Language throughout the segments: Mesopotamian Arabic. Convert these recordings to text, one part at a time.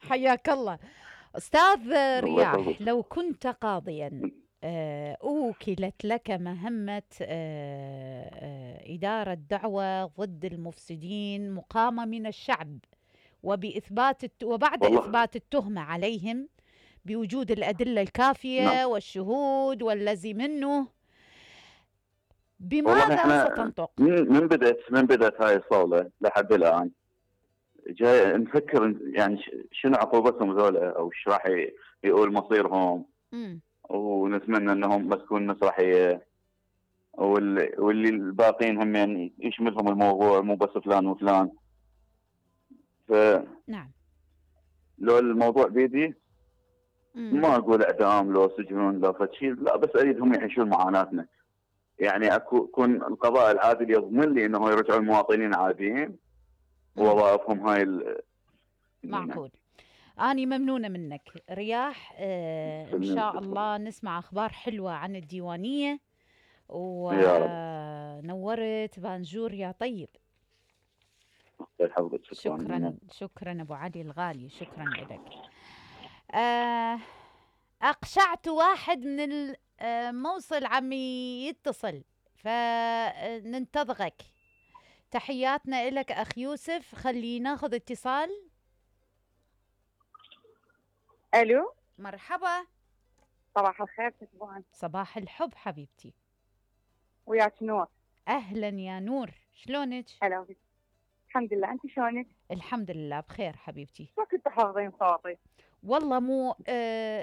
حياك الله. أستاذ الله رياح، يحفظك. لو كنت قاضيا أوكلت لك مهمة إدارة دعوة ضد المفسدين مقامة من الشعب، وبعد والله إثبات التهمة عليهم بوجود الأدلة نعم. الكافية والشهود والذي منه، والله بماذا احنا ستنطق؟ من بدأت هاي الصولة لحد الآن جاي نفكر يعني شنو عقوبتهم ذولا، او ايش راح يقول مصيرهم، مم. ونتمنى انهم ما تكون مسرحيه، واللي الباقين هم يعني يشملهم الموضوع، مو بس فلان وفلان. فلو نعم. الموضوع بيدي مم. ما اقول اعدام لو سجون لو فشي، لا، بس اريد هم يعيشون معاناتنا. يعني يكون القضاء العادل يضمن لي انه يرجعوا المواطنين عاديين مم. ووظائفهم هاي معقول. أنا ممنونة منك رياح. إن شاء الله نسمع أخبار حلوة عن الديوانية، يا رب. ونورت بانجور يا طيب. يحفظك. شكرا شكرا أبو علي الغالي، شكرا لك. آه أقشعت واحد من الموصل عم يتصل، فننتظرك. تحياتنا إلك أخ يوسف. خلي ناخذ اتصال. الو، مرحبا. صباح الخير تسبوعا. صباح الحب حبيبتي. وياك نور. أهلا يا نور، شلونك؟ هلا بك. الحمد لله، انت شلونك؟ الحمد لله بخير حبيبتي. ما كنت حافظين صوتي. والله مو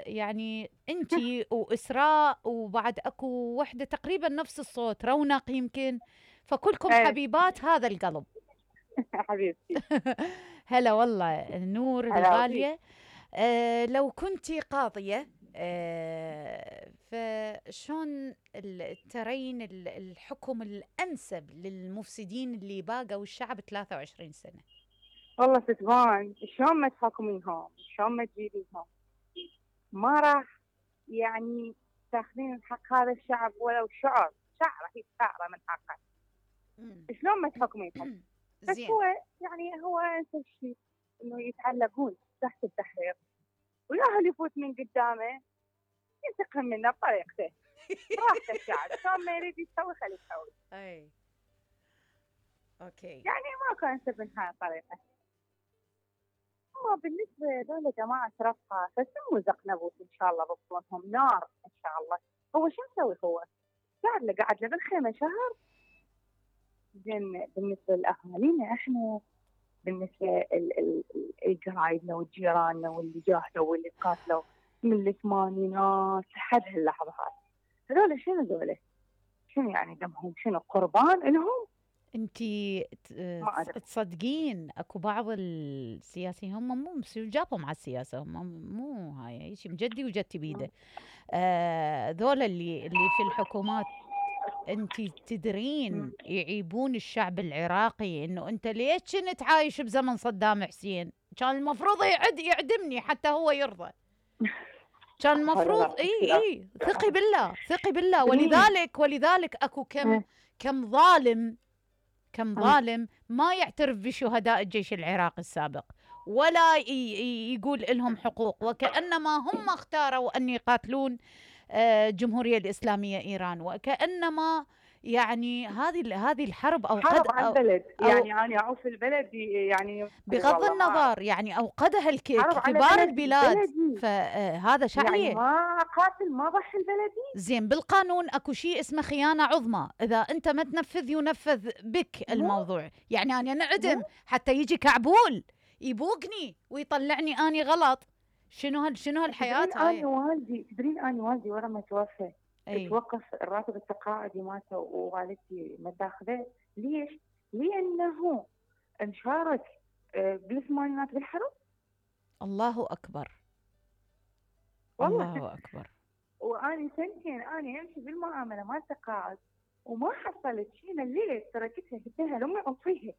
يعني انتي وإسراء، وبعد اكو وحدة تقريبا نفس الصوت، رونق يمكن، فكلكم ايه حبيبات هذا القلب. حبيبتي. هلا والله نور هلا بك. الغالية. لو كنتي قاضية، فشون ترين الحكم الأنسب للمفسدين اللي باقوا الشعب 23 سنة؟ والله تسبوعا، شلون ما تحكمينهم، شلون ما تجيبينهم، ما راح يعني تاخذين حق هذا الشعب ولو شعره هي شعره من حقه. شلون ما تحكمينهم. بس زين. هو انسب شيء انه يتعلقون تحت التحرير، وياهل يفوت من قدامه ينتقم منه بطريقته. راحته الشعب، شلون ما يريد يسوي خليه يسوي. اي اوكي. يعني ما كان انسب من هاي الطريقه. هو بالنسبه لهذول جماعه رفقه فسموا زقنبوس ان شاء الله بطونهم نار ان شاء الله. هو شو مسوي؟ هو قاعد له بالخيمه شهر. زين بالنسبه لاهالينا احنا، بالنسبه لقرايبنا وجيراننا واللي جاهدوا واللي قاتلوا من الثمانينات لحد هاللحظه هذول شنو ذولا؟ شنو يعني دمهم؟ شنو قربان لهم؟ انتي تصدقين اكو بعض السياسيين هم مو جابهم على السياسه، هم مو هاي شيء مجدي وجدتي بيده. ذولا اللي في الحكومات، انتي تدرين يعيبون الشعب العراقي انه انت ليش كنت عايش بزمن صدام حسين؟ كان المفروض يعدمني حتى هو يرضى. كان المفروض اي ثقي بالله ثقي بالله. ولذلك اكو كم ظالم ما يعترف بشهداء الجيش العراقي السابق، ولا يقول لهم حقوق، وكأنما هم اختاروا أن يقاتلون الجمهورية الإسلامية إيران، وكأنما يعني هذه الحرب حرب على البلد. يعني أنا أعوف البلد يعني بغض النظر يعني أوقدها كبار البلاد، فهذا شعليه. يعني ما قاتل ما ضحي البلدي. زين بالقانون اكو شيء اسمه خيانة عظمى، إذا أنت ما تنفذ ينفذ بك الموضوع. يعني أنا نعدم حتى يجي كعبول يبوقني ويطلعني أني غلط. شنو هالحياة هاي؟ تدرين أنا والدي ورا ما توفى توقف الراتب التقاعدي مالته، ووالدتي ما تاخذه. ليش؟ لأنه انشارك بالثمانينات بالحرب. الله أكبر. والله الله أكبر. وأنا سنتين أنا أمشي بالمعاملة مال تقاعد وما حصلت شيء. الليل تركتها قلت لها لأمي أطفيها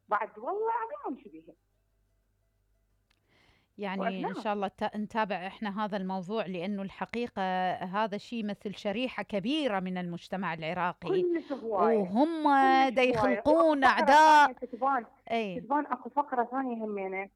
بعد والله العظيم أمشي بيها. يعني إن شاء الله نتابع إحنا هذا الموضوع، لأنه الحقيقة هذا شيء مثل شريحة كبيرة من المجتمع العراقي، وهم دا يخلقون أعداء. تتبان أكو فقرة ثانية همينة